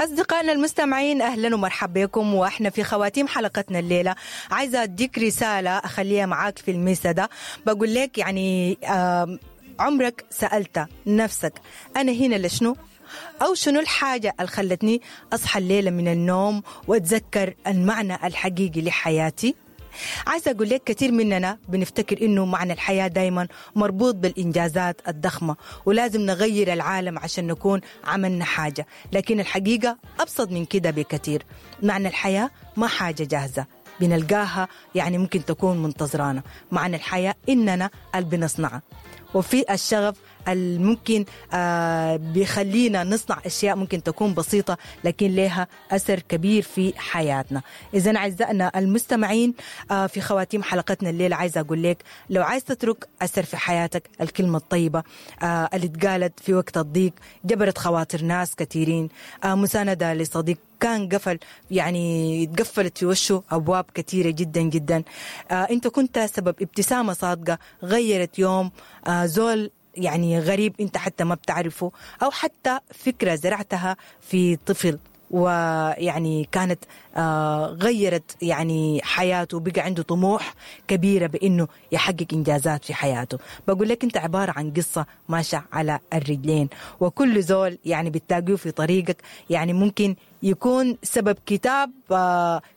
أصدقائنا المستمعين، أهلا ومرحبا بكم، وإحنا في خواتيم حلقتنا الليلة عايزة أديك رسالة أخليها معاك في المسا ده. بقول لك يعني عمرك سألت نفسك أنا هنا لشنو؟ أو شنو الحاجة اللي خلتني أصحى الليلة من النوم وأتذكر المعنى الحقيقي لحياتي؟ عايزة أقول لك كثير مننا بنفتكر إنه معنى الحياة دايما مربوط بالإنجازات الضخمة ولازم نغير العالم عشان نكون عملنا حاجة، لكن الحقيقة أبسط من كده بكثير. معنى الحياة ما حاجة جاهزة بنلقاها، يعني ممكن تكون منتظرانا. معنى الحياة إننا اللي بنصنعها، وفي الشغف الممكن بيخلينا نصنع أشياء ممكن تكون بسيطة لكن لها أثر كبير في حياتنا. إذن أعزائنا المستمعين، في خواتيم حلقتنا الليلة عايزة أقول لك لو عايز تترك أثر في حياتك، الكلمة الطيبة اللي اتقالت في وقت الضيق جبرت خواطر ناس كثيرين، مساندة لصديق كان قفل، يعني اتقفلت في وشه أبواب كثيرة جدا جدا، أنت كنت سبب ابتسامة صادقة غيرت يوم زول يعني غريب انت حتى ما بتعرفه، او حتى فكرة زرعتها في طفل ويعني كانت غيرت يعني حياته، بقى عنده طموح كبيرة بأنه يحقق إنجازات في حياته. بقول لك انت عبارة عن قصة ماشية على الرجلين، وكل زول يعني بتلاقيه في طريقك يعني ممكن يكون سبب كتاب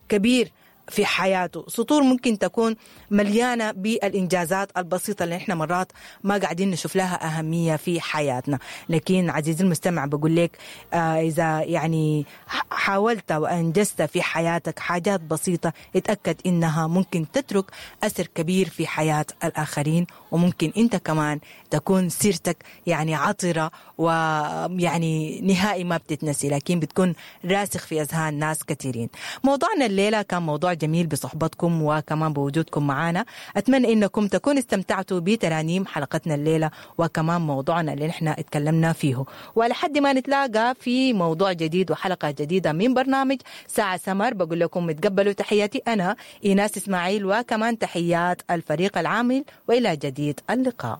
كبير في حياته، سطور ممكن تكون مليانة بالإنجازات البسيطة اللي احنا مرات ما قاعدين نشوف لها أهمية في حياتنا. لكن عزيزي المستمع بقول لك إذا يعني حاولت وأنجزت في حياتك حاجات بسيطة، اتأكد إنها ممكن تترك أثر كبير في حياة الآخرين، وممكن أنت كمان تكون سيرتك يعني عطرة ويعني نهائي ما بتتنسي، لكن بتكون راسخ في أذهان ناس كثيرين. موضوعنا الليلة كان موضوع جميل بصحبتكم وكمان بوجودكم معنا. أتمنى إنكم تكونوا استمتعتوا بترانيم حلقتنا الليلة وكمان موضوعنا اللي نحن اتكلمنا فيه، ولحد ما نتلاقى في موضوع جديد وحلقة جديدة من برنامج ساعة سمر، بقول لكم تقبلوا تحياتي أنا إيناس إسماعيل، وكمان تحيات الفريق العامل، وإلى جديد اللقاء.